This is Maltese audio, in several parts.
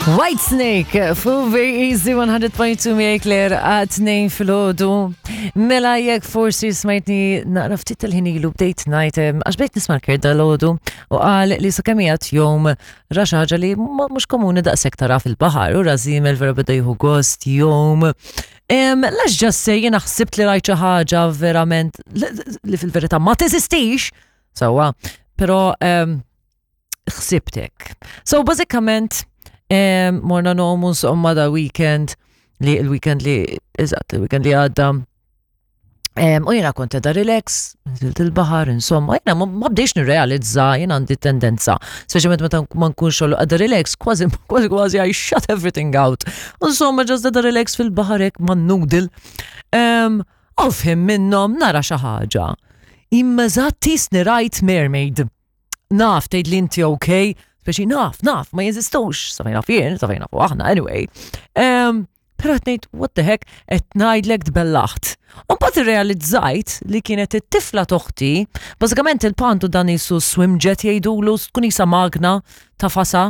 White Snake fu Very Easy 100.2 miegħi Claire għat 2 filgħodu. Mela jekk forsi smajtni naqra ftit tal-ħin ilu bdejt ngħid għax bdejt nisma' l dal-għodu u qal li sakemm qiegħed jom ra xi ħaġa li mhux komuni daqshekk tara fil-baħar u rażimel vera beda jieħu gost jom. Lax ġassej jiena ħsibt li rajt xi ħaġa verament li fil-verità ma teżistix, sewwa, però ħsibtek. So bażikament morna nomu insomma da weekend li il-weekend li eżatt il-weekend li għadda. U jena kont da relax, nżilt il-bahar, insomma, jena ma bdejx nirrealizza, jena għandi tendenza, speċjalment meta ma nkunx xogħol għadda relax, kważi kważi kważi I shut everything out. Insomma, ġast da relax fil-bahar hekk ma noodle. U fhim minnhom nara xi ħaġa. Imma eżatt tisni rajt mermaid. Naf, tgħid li inti ok, speċi naf, naf, ma jeżistux, sa fejn naf jien, sa fejn nafu aħna, anyway. Um, Pero qed ngħid, what the heck, qed ngħidlek tbellaħt. U mbagħad irrealizzajt li kienet it-tifla toħti, bażikament il-pantu dan jisu swim jet jgħidulu, tkun isa magna ta' fasa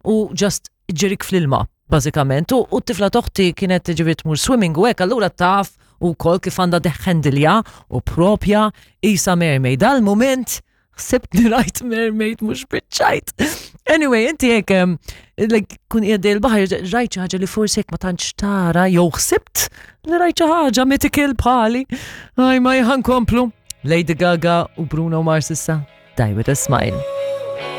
u just ġirik fl-ilma, bażikament. U t-tifla toħti kienet ġifieri tmur swimming u hekk, allura taf ukoll kif għandha deħħendilja u propja isa mermaid. Dal-moment ħsibt li rajt mermaid mhux biċċajt. Anyway, inti hekk like, kun qiegħed il-baħar rajt xi ħaġa li forsi hekk ma tantx tara jew ħsibt li rajt xi ħaġa mythical bħali. Aj ma komplu. Lady Gaga u Bruno Mars issa. Die with a smile.